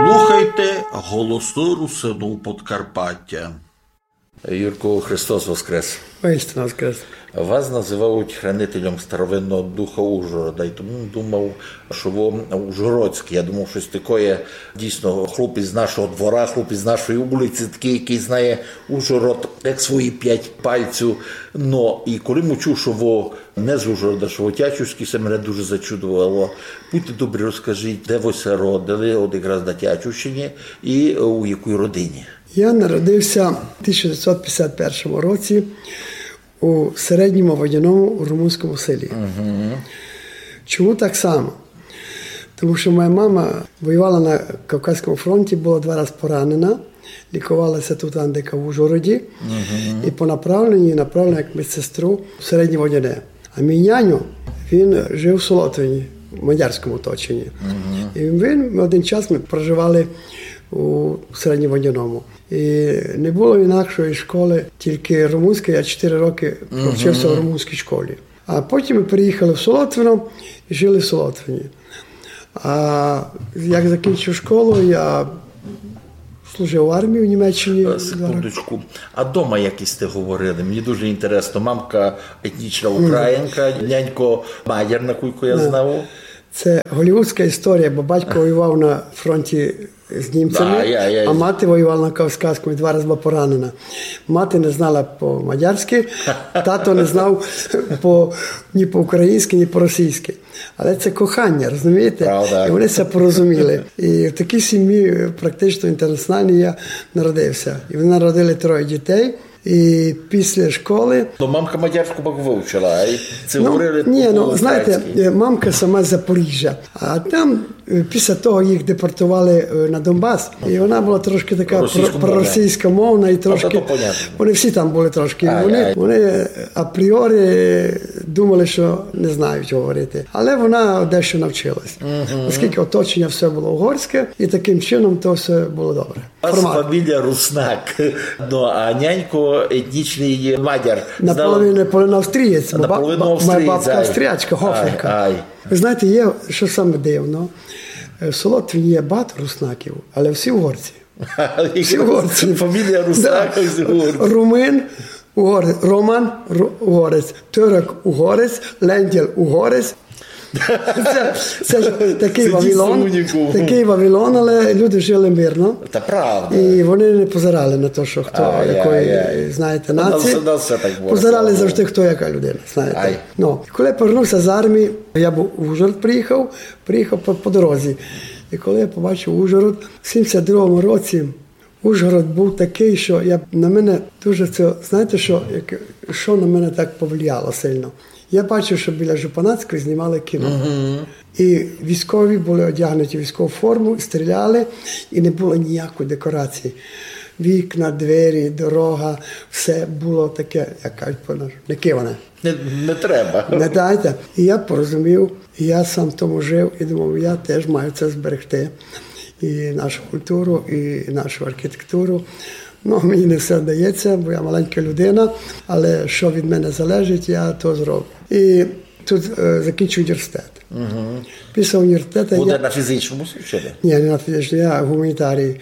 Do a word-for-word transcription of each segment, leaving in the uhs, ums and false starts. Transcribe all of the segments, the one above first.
Слухайте «Голосы Русинув Подкарпатя». Юрку, Христос воскрес! Воістину воскрес! Вас называють хранителем старовинного духа Ужгорода, і тому думав, што вы ужгородськый. Я думав, штось такоє, дійсно, хлопець з нашого двора, хлопець з нашої улиці, такый, якый знає Ужгород як свої пять пальців. Но, і коли м учув, што вы не з Ужгорода, што вы тячівськый, се мене дуже зачудовало. Будьте добрі, розкажіть, де вы ся родили, от якраз на Тячівщині, і у якій родині? Я народився в тисяча дев'ятсот п'ятдесят першому році у Середньому Водяному, у румунському селі. Мгм. Чому так само? Тому що моя мама воювала на Кавказському фронті, була два рази поранена, лікувалася тут, Андека, в Ужгороді, і по направленню направлена як медсестру в Середнє Водяне. А мій няньо, він жив в Солотвині, в мадярському оточенні. І він, один час ми проживали у Середньому Водяному. І не було інакшої школи, тільки румунської, я чотири роки провчився в румунській школі. А потім ми переїхали в Солотвино і жили в Солотвині. А як закінчив школу, я служив в армії в Німеччині. Е, секундочку. А дома як сьте говорили? Мені дуже інтересно. Мамка етнічна українка, нянько мадяр, накулько я знав. Це голівудська історія, бо батько воював на фронті з німцями, а мати воювала на Кавказському і два рази була поранена. Мати не знала по-мадярськи, тато не знав по, ні по-українськи, ні по-російськи. Але це кохання, розумієте? Правда. І вони ся порозуміли. І в такій сім'ї, е, практично інтернаціональній я народився. І вони народили троє дітей. І після школи... То мамка мадярську пак вивчила, ай? Це говорили по-українськи? Ні, ну, знаєте, е, мамка сама з Запоріжжя. А там, е, після того їх депортували, е, на Донбас. І вона була трошки така про-, проросійськомовна і трошки... Вони всі там були трошки. Вони, вони апріорі думали, що не знають говорити. Але вона дещо навчилась. Оскільки оточення все було угорське, і таким чином то все було добре. У вас фамілія Руснак, ну, а нянько етнічный мадяр. Наполовину, наполовину австрієць, бо ба-, ба-, моя бабка австріячка, Гоферка. Ай, ай. Ви знаєте, є, що саме дивно, е, в Солотвині є багато руснаків, але всі угорці. Всі угорці. Фамілія Руснак, всі угорці. Румин, угорець, Роман, ру-, угорець, Турок, угорець, Лендєл, угорець. Це, це ж такий Вавилон, такий Вавилон, але люди жили мирно. Та правда. І вони не позирали на те, що хто якої, знаєте, нації. Позирали завжди, хто яка людина, знаєте. Ну, і коли я повернувся з армії, я був в Ужгород приїхав, приїхав по, по дорозі. І коли я побачив Ужгород, в сімдесят другому році Ужгород був такий, що я, на мене дуже це, знаєте, що, як, що на мене так повлияло сильно? Я бачив, що біля Жупанацької знімали кіно. І військові були одягнуті в військову форму, стріляли, і не було ніякої декорації. Вікна, двері, дорога, все було таке, як кажуть по-нашому, не киване. Не, не треба. Не дайте. І я порозумів, і я сам в тому жив, і думав, я теж маю це зберегти. І нашу культуру, і нашу архітектуру. Ну, мені не все вдається, бо я маленька людина, але що від мене залежить, я то зроблю. І тут, е, закінчив університет. Після університету я... Буде на фізичному свідченні? Ні, не на фізичному, я гуманітарій.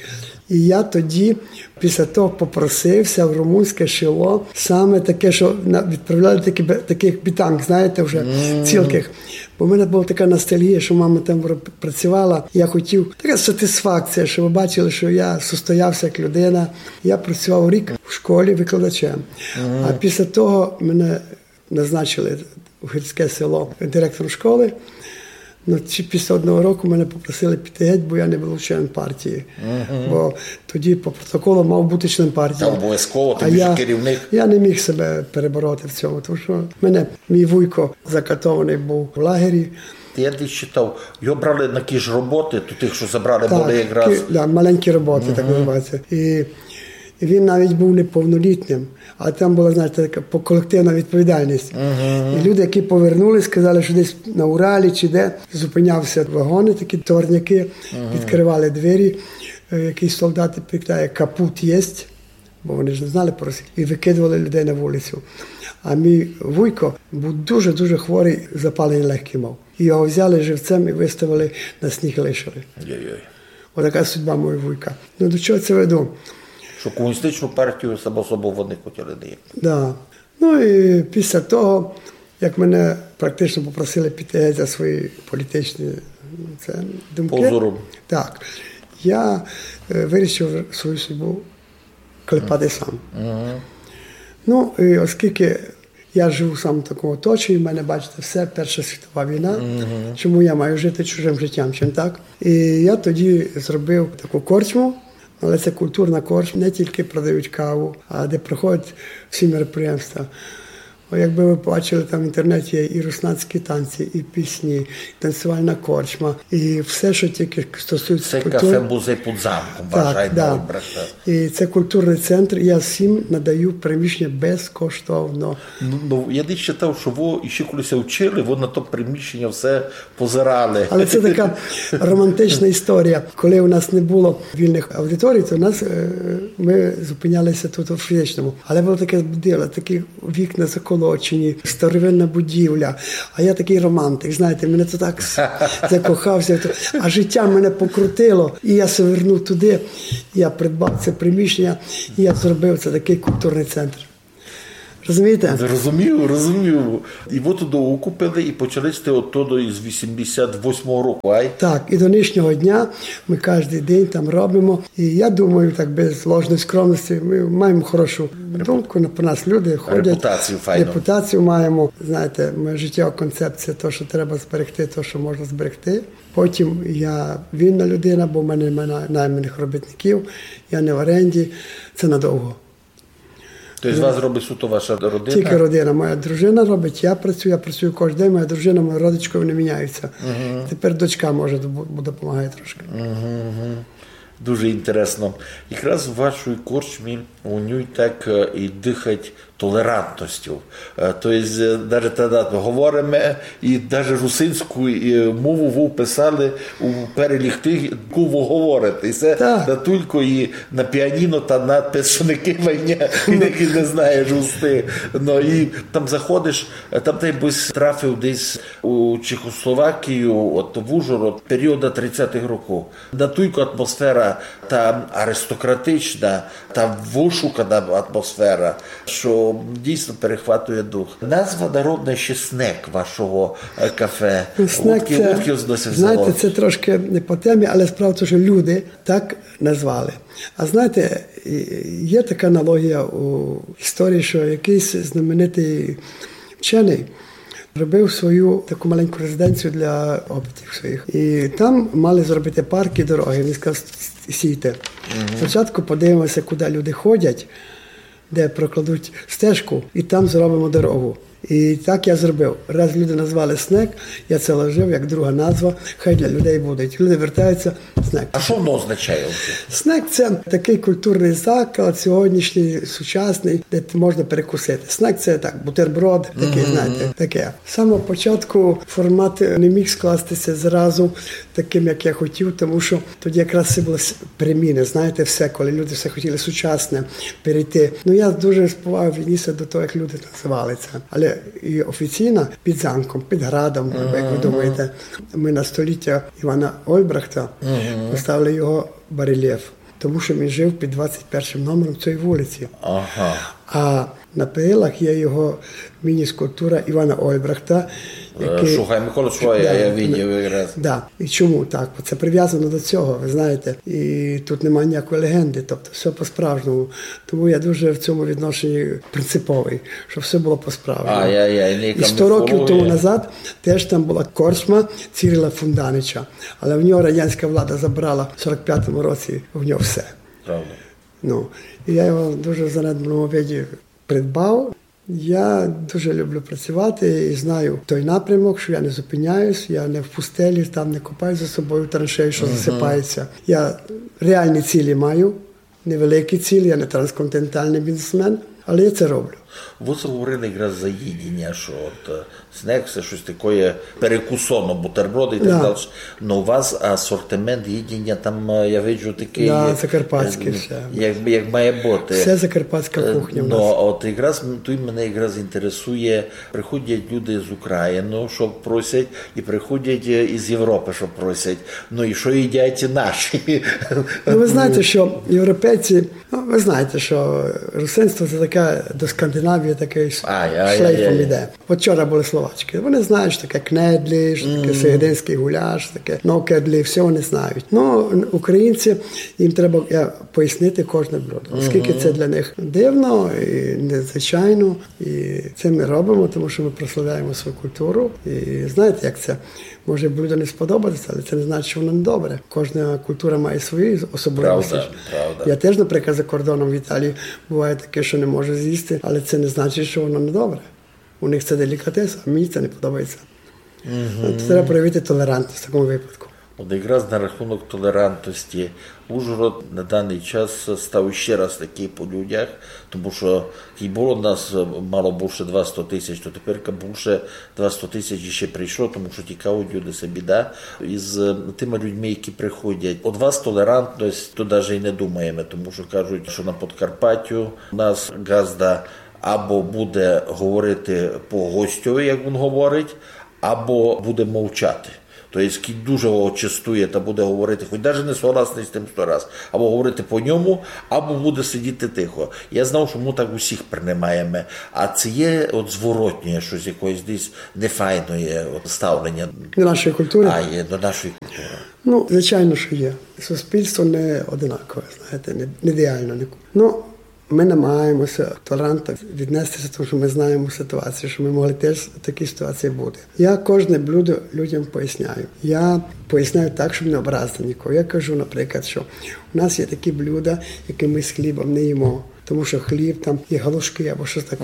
І я тоді, після того, попросився в румунське село, саме таке, що на-, відправляли такі бе-, таких бітанг, знаєте, вже цілких. Бо в мене була така ностальгія, що мама там пр-, працювала. Я хотів, така сатисфакція, що ви бачили, що я состоявся як людина. Я працював рік в школі викладачем. А після того мене назначили в гірське село директором школи. Ну, чи після одного року мене попросили піти геть, бо я не був членом партії. Бо тоді по протоколу мав бути член партії. Та обов'язково, ти ж керівник. Я не міг себе перебороти в цьому, тому що мене мій вуйко закатований був в лагері. Я десь читав, його брали на ті ж роботи, то тих, що забрали, були якраз маленькі роботи, так називається. І І він навіть був неповнолітнім, а там була, знаєте, така по-, колективна відповідальність. І люди, які повернулись, сказали, що десь на Уралі чи де зупинявся вагони, такі товарняки, відкривали двері, е, якийсь солдат питає, капут єсть, бо вони ж не знали по-російськи, і викидували людей на вулицю. А мій вуйко був дуже-дуже хворий, запалення легких мав. І його взяли живцем і виставили на сніг, лишили. Йой-йой. Отака судьба моєго вуйка. Ну, до чого це веду? Што комуністичну партію само собою вони хотіли ніяк. Да. Ну і після того, як мене практично попросили піти геть за свої політичні, це, думки. Позором. Так. Я е, вирішив свою судьбу клепати сам. Ну, і оскільки я живу сам в такому оточенні, в мене, бачите, все Перша світова війна. Чому я маю жити чужим життям, чим так? І я тоді зробив таку корчму, але це культурна корчма, не тільки продають каву, а де проходять всі мероприємства. О, якби ви бачили, там в інтернеті є і руснацькі танці, і пісні, і танцювальна корчма, і все, що тільки стосується Це культури. Кафе-музей під замком, Так, вважай, да. Нойбрехта. І це культурний центр, і я всім надаю приміщення безкоштовно. Ну, ну, я не читав, що ви іще коли ся вчили, ви на то приміщення все позирали. Але це така романтична історія. Коли у нас не було вільних аудиторій, то у нас, е, ми зупинялися тут у фізичному. Але було таке диво, такі вікна заколочені, старовинна будівля. А я такий романтик, знаєте, мене це так с- закохався. А життя мене покрутило, і я ся вернув туди. Я придбав це приміщення, і я зробив це такий культурний центр. Розумієте? Розумію, розумію. І ви туди укупили, і почали сте оттуда із вісімдесят восьмого року, ай? Так, і до нинішнього дня ми кожен день там робимо. І я думаю, так без ложної скромності, ми маємо хорошу думку на про нас люди ходять. Репутацію файну. Репутацію маємо. Знаєте, моя життєва концепція, то, що треба зберегти, то, що можна зберегти. Потім я вільна людина, бо в мене немає найманих робітників, я не в оренді. Це надовго. Тобто з вас робить суто ваша родина? Тільки родина. Моя дружина робить, я працюю, я працюю кожен день, моя дружина, моя родичка, вони міняються. Тепер дочка може допомагати трошки. Дуже інтересно. Якраз в вашій корчмі у ній так е, і дихать толерантністю. Е, То є, е, навіть тоді говоримо, і навіть русинську е, мову ви вписали у перелік тих, яку ви говорите. І це Так. не тільки і на піаніно та надпис, що не кивай, ні, і не, не знаєш усти. Ну і там заходиш, е, там ти бись трафив десь у Чехословакію, от в Ужгород, періоду тридцятих років. Натілько атмосфера та аристократична, та вишукана атмосфера, що дійсно перехватує дух. Назва народна ще снек вашого е, кафе. Ну, снек Удкі, це, удкі воно ся знаєте, взяло? Це трошки не по темі, але справа в тому, що люди так назвали. А знаєте, і- є така аналогія у історії, що якийсь знаменитий вчений робив свою таку маленьку резиденцію для опитів своїх. І там мали зробити парк і дороги. Він сказав: «С- сійте. Спочатку подивимося, куди люди ходять, де прокладуть стежку, і там зробимо дорогу». І так я зробив. Раз люди назвали снек, я це вложив як друга назва, хай для людей буде. Люди вертаються, снек. А що воно означає? Снек — це такий культурний заклад, сьогоднішній, сучасний, де можна перекусити. Снек — це так, бутерброд, такий, знаєте, таке. З самого початку формат не міг скластися зразу таким, як я хотів, тому що тоді якраз це було с- переміни, знаєте, все, коли люди все хотіли сучасне перейти. Ну, я дуже з повагою віднісся до того, як люди називали це. Але і офіційно під замком, під градом, як ви думаєте, ми на століття Івана Ольбрахта поставили його барельєф, тому що він жив під двадцять першим номером цієї вулиці. Ага. А на перилах є його міні-скульптура Івана Ольбрахта, Е, який Шугай Микола Шугай, Да, я видів якраз. Да. І чому так? Бо це прив'язано до цього, ви знаєте. І тут немає ніякої легенди, тобто все по-справжньому. Тому я дуже в цьому відношенні принциповий, щоб все було по-справжньому. А, я, я, і не І сто років тому міфологія. Назад теж там була корчма Цирила Фунданича, але в нього радянська влада забрала в сорок п'ятому році в нього все. Правда. Ну, і я його дуже в занедбаному виді придбав. Я дуже люблю працювати і знаю той напрямок, що я не зупиняюсь, я не в пустелі, там не копаю за собою траншеї, що засипається. Я реальні цілі маю, невеликі цілі, я не трансконтинентальний бізнесмен, але я це роблю. Вы заговорили якраз за їдіня, што от е, снек, всьо штось такоє перекусоно, бутерброды і так Да. далі. Но у вас асортимент їдіня там, е, я виджу, такый, Да, е, закарпатське е, всьо. як, як має быти. Всьо закарпатська Е, кухня у но нас. От якраз м, туй мене якраз інтересує, приходять люди з Украины, што просять, і приходять е, із Європы, што просять. Ну і што їдять наші? Ну, вы знаєте, што європейці, ну, вы знаєте, што русинство це таке до Скандинавії такый ш- Ай, ай, шлейфом ай, ай. іде. От вчора были словачкы. Вони знають, што таке кнедлі, што таке сегединськый гуляш, таке нокедлі, всьо вони знають. Ну, українці, їм треба е, пояснити кожне блюдо. Оскільки це для них дивно і незвичайно, і це ми робимо, тому што ми прославляємо свою культуру. І знаєте, як це? Може блюдо не сподобатися, але це не значить, што воно недобре. Кожна культура має свої особливості. Правда, правда. Я теж, наприклад, за кордоном в Італії буває таке, што не можу з'їсти, але це не значить, што воно недобре. У них це делікатес, а мені це не подобається. От треба проявити толерантність в такому випадку. От якраз на рахунок толерантності. Ужгород на даный час став іщи раз такый по людях, тому што кідь было нас мало бульше двасто тисяч, то тепер бульше двасто тисяч іщи прийшло, тому што тікають люди, се біда. Із е, тыма людьми, які приходять. От вас толерантность, то даже і не думаєме, тому што кажуть, што на Подкарпатю у нас ґазда або буде говорити по гостьови, як він говорить, або буде мовчати. То єсть, кідь дуже го честує, та буде говорити, хоть даже не согласный з тым сто раз, або говорити по ньому, або буде сидіти тихо. Я знав, што мы так усіх принимаєме. А це є от зворотнє штось, якоєсь десь нефайноє от ставлення. До нашої культури? А, є, до нашої культури. Ну, звичайно, што є. Суспільство не одинакове, знаєте, не, не ідеально. Не... Ну, ми намагаємося толерантно віднестися, тому што ми знаємо ситуацію, што ми могли теж в такій ситуації бути. Я кожне блюдо людям поясняю. Я поясняю так, щоб не образити нікого. Я кажу, наприклад, що у нас є такі блюда, які ми з хлібом не їмо. Тому що хліб там є галушки або щось таке.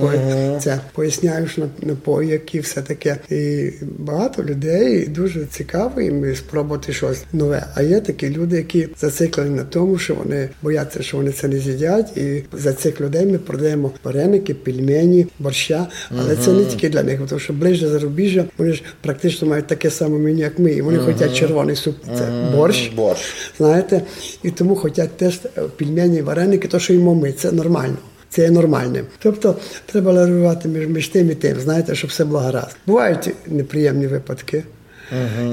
Це поясняю, що на- напої, які все таке. І багато людей дуже цікаво їм спробувати щось нове. А є такі люди, які зациклені на тому, що вони бояться, що вони це не з'їдять. І за цих людей ми продаємо вареники, пельмені, борща. Але це не тільки для них, тому що ближче зарубіжжя, вони ж практично мають таке саме меню, як ми. І вони хочуть червоний суп, це борщ. Борщ. Знаєте, і тому хочуть теж е, пельмені, вареники, то, що їмо ми, це нормально. Це є нормальним. Тобто треба лавірувати між, між тим і тим, знаєте, щоб все було гаразд. Бувають неприємні випадки.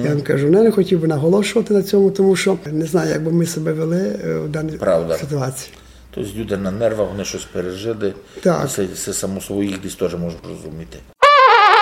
Я вам кажу, я не хотів би наголошувати на цьому, тому що не знаю, як би ми себе вели е, в даній Правда. Ситуації. Тобто люди на нервах, вони щось пережили, Так. і це, це само собою їх десь теж можна розуміти.